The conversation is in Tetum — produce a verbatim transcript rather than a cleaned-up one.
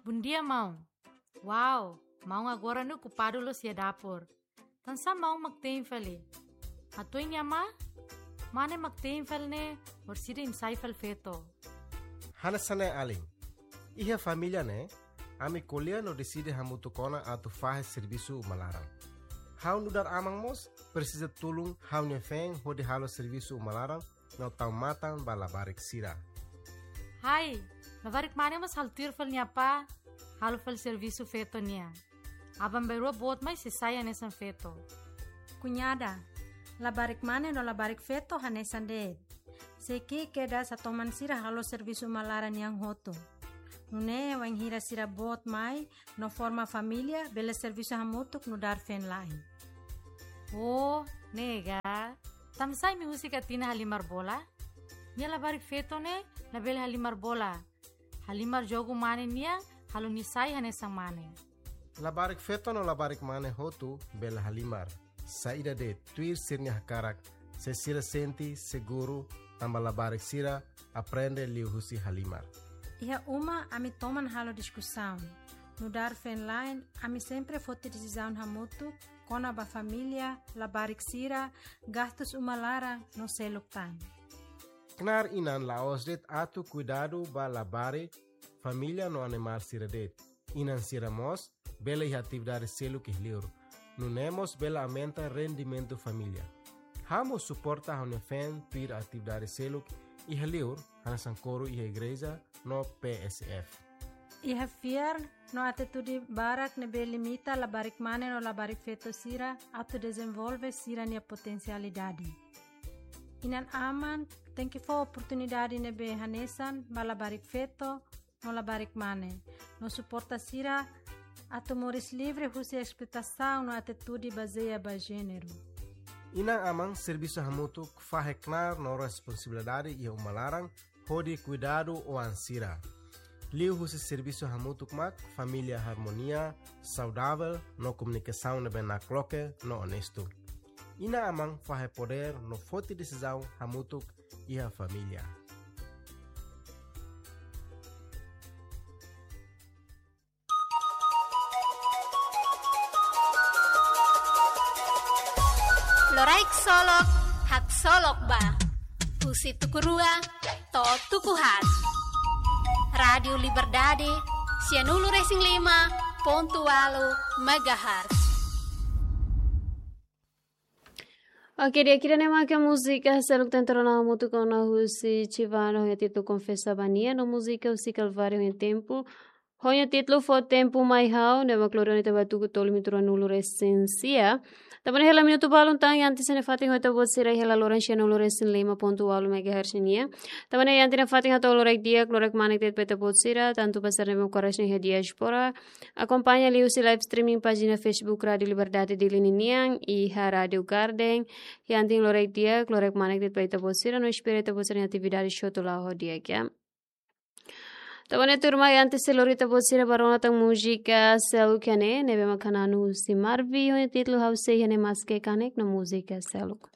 Bondia, maun. Wow, maun agora ne'e okupadu loos iha dapur. Tansá maun mak te'in fali? Hato'o nia mane? Mane mak te'in fali ne'e, orsida imi sai fali feto. Hanesan ne'e alin. Iha família ne'e, ami ko'alia no deside hamutuk ona atu fahe servisu uma laran. Ha'u nu'udar aman mós presiza tulun ha'u-nia feen hodi halo servisu uma laran no tau matan ba labarik sira. Hai, labarik mane mós halo tuir fali nia apá, halo fali servisu feto nian. Aban-bainrua boot mai sei sai hanesan feto. Kuñada, labarik mane no labarik feto hanesan de'it. Sei ki'ik kedas atu toman sira halo servisu uma laran nian hotu. Nune'e wainhira sira boot mai no forma família, bele servisu hamutuk nu'udar feen-la'en. Oh, ne'e ka. Tansá imi husik Atina halimar bola? Nia labarik feto ne'e labele halimar bola. Halimar jogu mane nian, halo nia sai hanesan mane. Labarik feto no labarik mane hotu bele halimar. Saida de'it, tuir sira-nia hakarak, se sira sente seguru, tanba labarik sira aprende liuhusi halimar. Iha uma ami toman halo diskusaun. Nu'udar feen-la'en, ami sempre foti desizaun hamutuk kona-ba família, labarik sira, gastus uma laran no seluk tan. Knaar inan la'ós de'it atu kuidadu ba labarik, família no animál sira de'it. Inan sira mós bele iha atividade seluk iha li'ur. Nune'e mós bele aumenta rendimentu família. Ha'u mós suporta ha'u-nia feen tuir atividade seluk iha li'ur, hanesan koru iha igreja no P S F. Iha fiar no atitude barak ne'ebé limita labarik mane no labarik feto sira atu dezenvolve sira-nia potensialidade. Inan-aman tenke fó oportunidade ne'ebé hanesan ba labarik feto no labarik mane, no suporta sira atu moris livre husi esploitasaun no atitude bazeia ba jéneru. Inan-aman servisu hamutuk fahe knaar no responsabilidade iha uma laran hodi kuidadu oan sira. Liuhusi servisu hamutuk mak família harmonia, saudavel no komunikasaun ne'ebé nakloke no onestu. Inan-aman fahe podér no foti desizaun hamutuk iha família. Loraik solok, haksolok ba. Husi tuku rua to'o tuku haat. Rádiu Liberdade, sianulu resin lima pontu ualu megahertz. Oke, di'ak, ida-ne'e mak múzika seluk tentrona hamutuk ona husi Chivano ho nia títulu Konfesa ba Nia, no múzika husi Kalvário ho nia tempu, ho nia títulu Fó Tempu Mai Ha'u, ne'ebé mak lori ona ita ba tuku tolu minutu ruanulu resin sia. Tanba ne'e hela minutu balun tan, iha antes ne'e fatin ho ita-boot sira iha hela loron sianulu resin lima pontu ualu megahertz nian. Tanba ne'e iha antes ne'e fatin hato'o loraik di'ak, loraik manek de'it ba ita-boot sira, tantu ba sira ne'ebé mak ko'alia iha diáspora. Akompaña liuhusi live streaming pájina Facebook Rádiu Liberdade Dili ninian, iha Rádiu Garden. Iha antes loraik di'ak, loraik manek de'it ba ita-boot sira, no espera ita-boot sira-nia atividade hotu la'o ho di'ak, ya. Tanba ne'e tuirmai, antes sei lori ita-boot sira ba rona tan múzika seluk iha ne'e, ne'ebé mak hananu husi Marvi, ho nia títulu Ha'u Sei Iha Ne'e Maske Kanek, no múzika seluk.